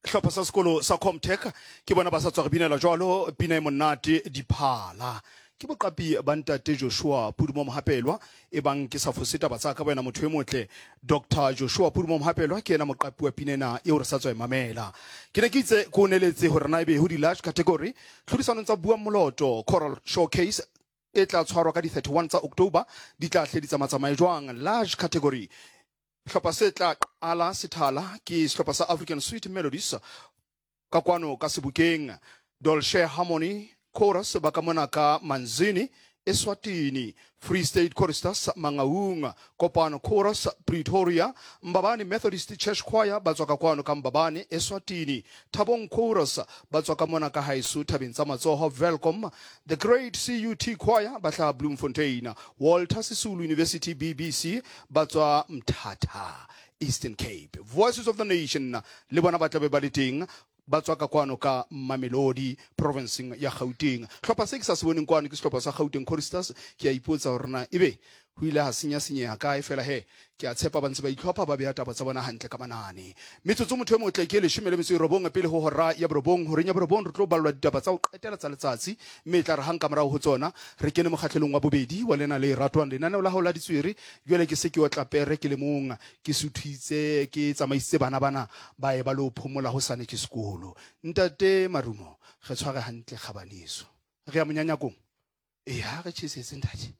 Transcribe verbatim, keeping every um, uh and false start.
Sehlopha sa sekolo sa Comtech ke bona ba sa tswa re binela jwalo pina e monate Diphala. Ke boqapi ba ntate Joshua Pudumo Mohapelwa, e bang ke sa fose taba tsa ka wena motho e motle. Doctor Joshua Pudumo Mohapelwa ke yena moqapi wa pina ena eo re sa tswa e mamela. Ke ne ke itse ko neletse hore na ebe ho di-large category tlhodisanong tsa Buang Moloto Choral Showcase e tla tshwarwa ka di thirty-one tsa October di tla hle di tsamatsamaye jwang. Large category, sehlopha se tla qala sethala ke sehlopha sa African Sweet Melodies ka kwano ka Sebokeng, Dolce Harmony Chorus ba ka mona ka Manzini Eswatini, Free State Choristers Mangaung, Kopano Chorus Pretoria, Mbabane Methodist Church Choir ba tswa ka kwano ka Mbabane Eswatini, Thabong Chorus ba tswa ka mona ka haeso Thabeng tsa Matsoho Welkom, The Great C U T Choir ba hlaha Bloemfontein, Walter Sisulu University B B C ba tswa Mthatha Eastern Cape, Voices of the Nation le bona ba tlabe ba le teng, ba tswa ka kwano ka Mamelodi provinceng ya Gauteng. Hlopha se ke sa se boneng kwano ke sehlopha sa Gauteng Choristers. Ke a ipotsa hore na ebe ho ile ha senya senyeha kae, fela he ke a tshepa ba ntse ba itlhopha, ba beha taba tsa bona hantle ka manane. Metsotso, motho e motle, ke leshome le metso e robong pele ho hora ya borobong. Horeng ya borobong re tlo ballwa ditaba tsa ho qetela tsa letsatsi, mme e tla re hang ka morao ho tsona re kene mokgatlhelong wa bobedi wa lena le ratwang lenaneo la hao la ditswere. Jwale ke se ke otla pere ke le mong, ke suthitse, ke tsamaisitse bana bana ba ye ba lo phomola, hosane ke sekolo. Ntate Marumo, re tshware hantle kgabaneso, re ya monyanyakong. Ee, ha re tjhesetse ntate.